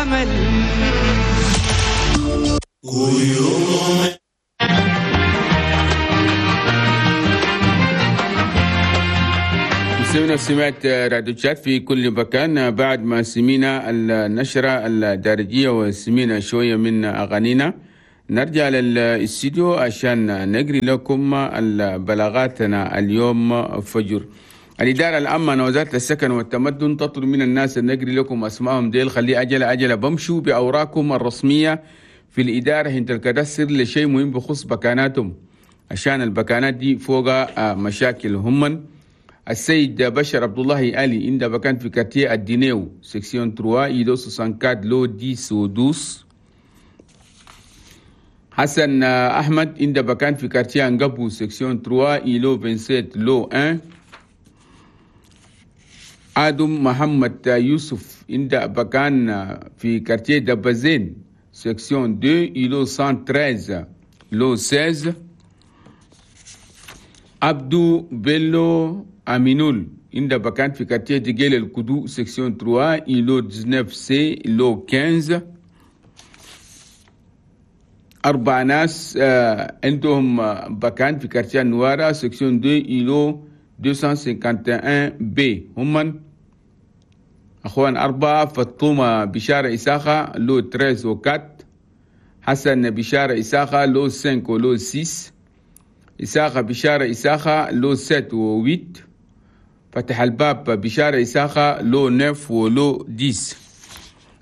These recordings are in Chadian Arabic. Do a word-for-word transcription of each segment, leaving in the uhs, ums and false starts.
أمل. سمعنا سمعت راديو تشاد في كل مكان. بعد ما سمينا النشرة الدارجية وسمينا شوية من أغانينا، نرجع للاستديو عشان نجري لكم بلاغاتنا اليوم فجر. الإدارة العامة وزارة السكن والتمدن تطلب من الناس أن نجري لكم أسمائهم ديل، خلي أجل أجل بمشوا بأوراقكم الرسمية في الإدارة هنت الكدسر لشيء مهم بخص بكاناتهم، عشان البكانات دي فوق مشاكل هم. السيد بشر عبد الله علي عند بكان في quartier الدينيو section ثلاثة îlot أربعة وستين lot عشرة و اثنا عشر. حسن أحمد عند بكان في quartier أنقبو section ثلاثة îlot سبعة وعشرين lot واحد. آدم محمد يوسف عند بكان في quartier دبزين section اثنين îlot مية وثلاثة عشر lot ستة عشر. عبدو بيلو أمينول عند بكان في quartier ديجيل الكدو section ثلاثة îlot تسعة عشر C lot خمسة عشر. أربع ناس عندهم بكان في quartier نوارا section اثنين îlot مئتين وواحد وخمسين B، هم أخوان أربعة: فطومة بشارة إساخة lot ثلاثة و أربعة، حسن بشارة إساخة lot خمسة و lot ستة، إساخة بشارة إساخة lot سبعة و ثمانية، فتح الباب بشارة إساخة lot تسعة و lot عشرة.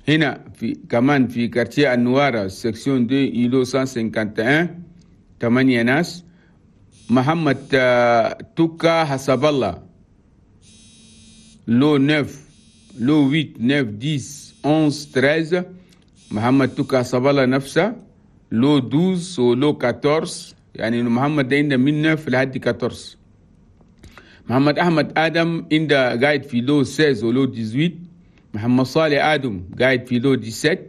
هنا في كمان في quartier النوارة section اثنين îlot مية وواحد وخمسين ثمانية ناس: محمد توكا حسب الله lot تسعة lot ثمانية تسعة عشرة أحد عشر ثلاثة عشر، محمد توكا حسب الله نفسه lot اثنا عشر و lot أربعة عشر، يعني محمد ده عنده من تسعة لحد أربعة عشر. محمد أحمد آدم عنده قاعد في lot ستة عشر و lot ثمانية عشر. محمد صالح آدم قاعد في lot سبعة عشر.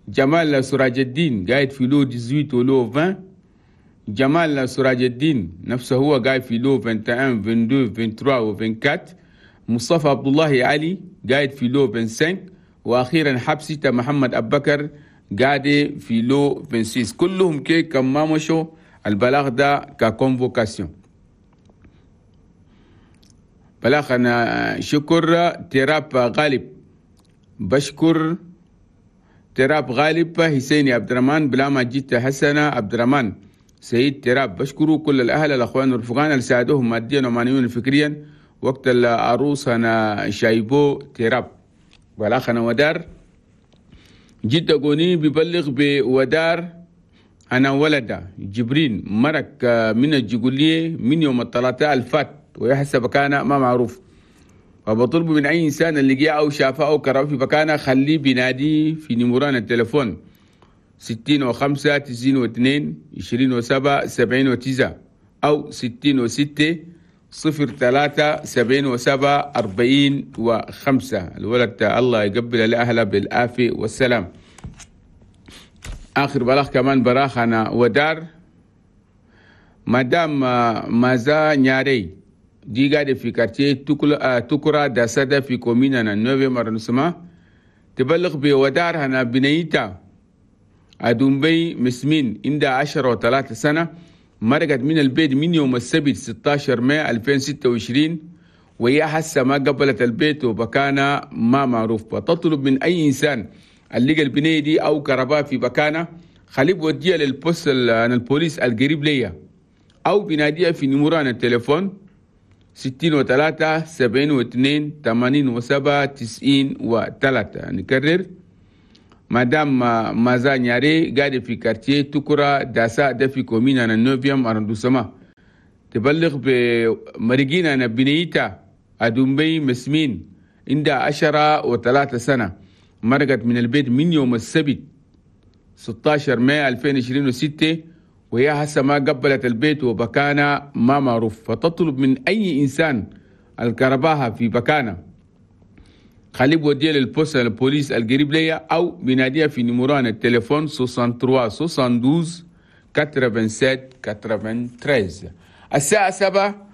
جمال سراج الدين قاعد في lot ثمانية عشر و lot عشرين. جمال سراج الدين نفسه هو قاعد في lot واحد وعشرين اثنين وعشرين ثلاثة وعشرين و أربعة وعشرين. مصطفى عبد الله علي قاعد في lot خمسة وعشرين. واخيرا حبسي محمد ابو بكر قاعد في lot ستة وعشرين. كلهم كي كم ما مشوا البلاغ ده ك convocation. بلاغ انا شكر تراب غالب، بشكر تراب غالب حسيني عبد الرحمن بلاما جيت حسنة عبد الرحمن سيد تراب، بشكروا كل الأهل الأخوان والرفقان اللي ساعدوهم ماديا ومعنويا وفكريا وقت العروس أنا شايبو تراب. والأخ أنا ودار جد قوني ببلغ بودار أنا ولد جبرين مرك من الجقولية من يوم الثلاثاء الفات ويحسب كان ما معروف، وبطلب من أي إنسان اللي جاء أو شافه أو كرهه في مكانه خليه بينادي في نمران التليفون ستين وخمسة تسعين واثنين عشرين وسبعة سبعين وتسعة أو ستين وستة صفر ثلاثة سبعين وسبعة أربعين وخمسة. الولد الله يقبل لأهله بالعافية والسلام. آخر بلاغ كمان براخنا ودار مدام مازا نياري دي قاعدة في quartier تكرا داسادة في commune نا neuvième arrondissement، تبلغ بودار هنا بنيتا أدومبي مسمين عندها عشرة وثلاثة سنة، مرقت من البيت من يوم السبت ستة عشر مايو ألفين وستة وعشرين وهي حاسة ما قبلت البيت وبكانة ما معروف. وتطلب من أي إنسان اللي لقى البنية دي أو كهرباء في بكانة خليه بوديها لل poste البوليس القريب ليا أو بناديها في نمران التليفون ستين وثلاثة سبعين واثنين ثمانين وسبعة تسعين وثلاثة. نكرر مدام مازا نياري قاعدة في quartier تكرا داسا ده في commune أنا neuvième arrondissement، تبلغ بمرقين أنا بنيتا أدومبي مسمين عندها عشرة وثلاثة سنة، مرقت من البيت من يوم السبت ستة عشر مايو ألفين وعشرين وستة وهي هسه ما قبلت البيت وبكانة ما معروف. فتطلب من أي إنسان الكرباها في بكانة خليه بوديه لل poste البوليس القريب ليا أو بناديها في نمران التليفون ثلاثة وستين اثنين وسبعين ثمانية وثلاثة. الساعة سبعة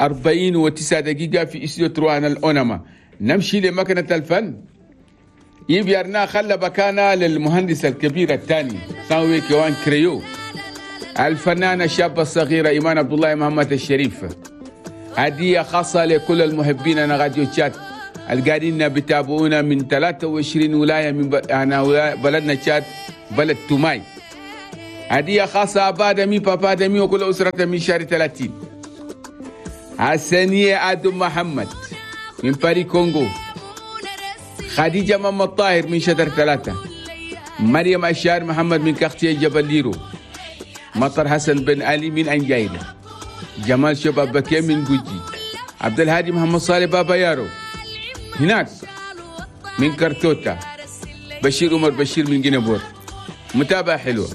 أربعين وتسعة دقيقة في استوديو تروان الأونما. نمشي لمكنة الفن. يبيرنا خلى بكانا للمهندس الكبير الثاني ساوي كيوان كريو، الفنانة الشابة الصغيرة إيمان عبد الله محمد الشريف. هدية خاصة لكل المحبين أنا راديو تشاد القاعدين بتابعونا من ثلاثة وعشرين ولاية من ب... أنا بلدنا تشاد بلد توماي. هدية خاصة أبا دمي بابا دمي وكل أسرته من شهر ثلاثين. حسنية آدم محمد من باري كونغو، خديجة محمد طاهر من شجر ثلاثة، مريم أشار محمد من كختية جبل ليرو، مطر حسن بن علي من أنجايلة، جمال شباب بكي من جوجي، عبد الهادي محمد صالح بابا يارو هناك من كرتوتا، بشير عمر بشير من جنبور. متابعة حلوة.